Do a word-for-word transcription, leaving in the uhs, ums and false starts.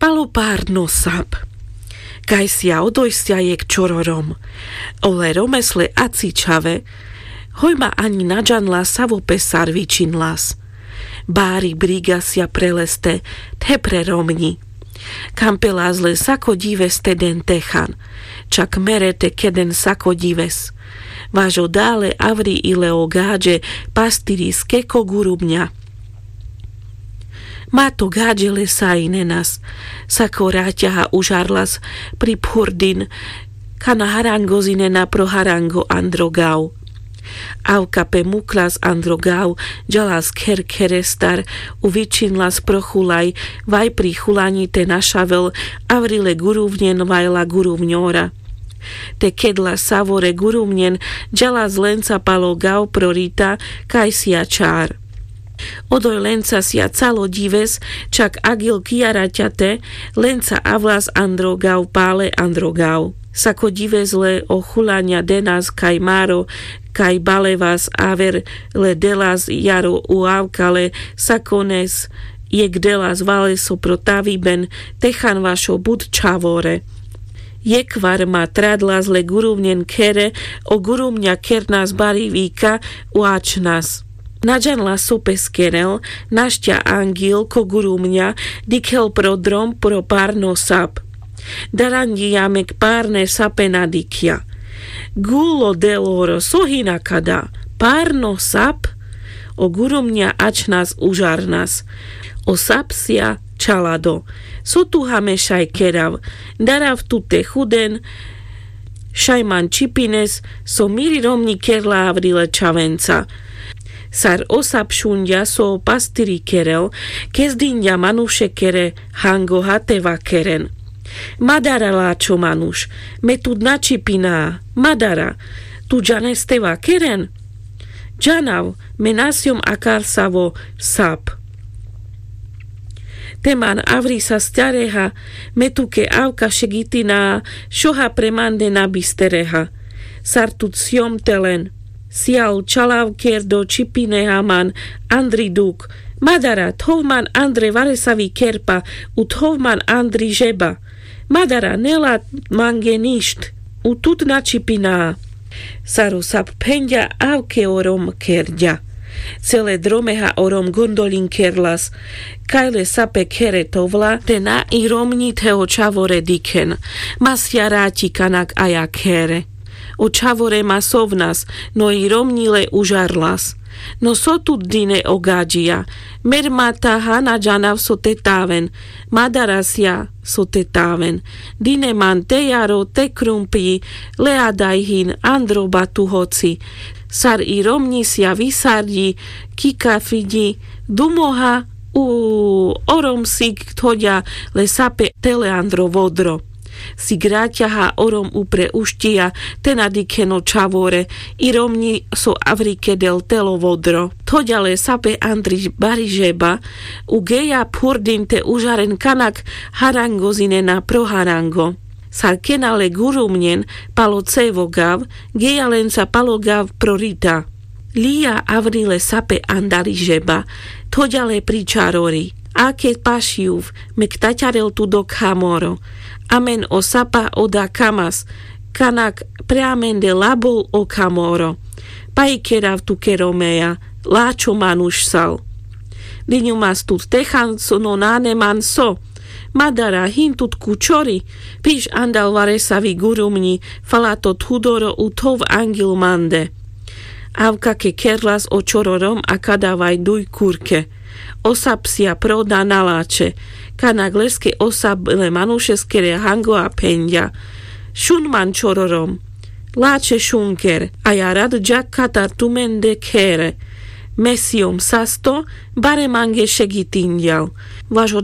Palo párno sap. Kajsia odojsia jekh čoro rom. Ole romes le aci čhave. Hoj ma ani na džanla savo pe sar vičinlas. Bári brigasia pre leste the pre romňi. Kampelas le sako ďives te den techan. Čak mere te keden sako ďives. Vaš o dale avri i le o gaďe pastiriske ko gurubňa. Mato gaďe le sajinenas. Sako raťaha užarlas pri phurdin. Kana harangozinena pro harango andro gav. Avka pe muklas andro gav. Džalas kher kherestar. U vičinlas pro chulaj. Vaj pri chulaňi te našavel. Avri le guruvňen vaj la guruvňora. Te kedla savore guruvňen. Džalas lenca palo gav pro rita. Kajsia čar. Odoj lencasia calo ďives. Čak agil kiaraťate. Lenca avlas andro gav pale andro gav. Sako ďives le o chulaňa denas kaj maro. Kaj balevas aver le delas jaro u avkale. Sakones jekh delas valeso pro taviben. Techan vašo but čhavore. Jekhvar ma tradlas le guruvňen khere. O guruvňa khernas bari vika. U ačhnas. Na džanla so pe skerel. Našťa angil ko guruvňa. Dikhel pro drom pro párno sap. Daranďija mek párne sape na dikhľa. Gulo deloro so hina kada. Párno sap. O guruvňa ačhnas užarnas. O sapsia čalado. So tu hameša i kerav. Darav tu te chuden. Šaj man čipines. So miri romňi kerla avri le čhavenca. Sar o sap šunďa so o pastiri kerel. Kezdinďa manuše kere hangoha te vakeren. Madara lačho manuš. Me tut na čipina. Madara. Tu džanes te vakeren? Džanav. Me nasjom akar savo sap. Te man avrisa stareha. Me tuke avka šegitina. Šoha pre mande na bistereha. Sar tut sjom te len. Sial čalav kerdo čipine haman. Andri duk. Madara thov man andre varesavi kerpa. U thov man andri žeba. Madara nela mange ništ. U tut na čipina. Sar o sap phenďa avke o rom kerďa. Cele dromeha o rom gondoľin kerlas. Kaj le sape khere thovla te na i romňi the o čhavore dikhen. Masia raťi kanak aja khere. O čhavore ma sovnas. No i romňi le užarlas. No so tut dine o gaďija. Mer mataha na džanav so te taven. Madarasia so te taven. Dine man te jaro te krumpľi. Le adaj hin andro batu hoci. Sar i romňisia visarďi. Kikafiďi. Dumoha. U orom sik thoďa le sape tele andro vodro. Sik raťaha orom upre ušťija. Te na dikhen o čhavore. I romňi so avri kedel telo vodro. Thoďa le sape andri bari žeba. U geja phurdin te užaren kanak harangozinena pro harango. Sar kena le gurumňen palo cevo gav. Geja lenca palo gav pro rita. Lija avri le sape andari žeba. Thoďa le pri čarori. Ake pašiuv. Me ktaťarel tu do khamoro. Amen o sapa oda kamas. Kanak pre amende labol o khamoro. Paj kerav tuke romeja. Lačho manuš sal. Diňumas tut techan so no nane man so. Madara hin tut ku čori. Piš andal varesavi gurumňi. Fala to thudoro u thov angil mande. Avka ke kerlas o čoro rom a kadavaj duj kurke. O sapsia proda na lačhe. Kanak leske o sap le manušeskere hango a phenďa. Šun man čoro rom. Lačhe šunker. Aja rad džak katar tumende khere. Me siom sasto. Bare mange šegitinďal. Vaš o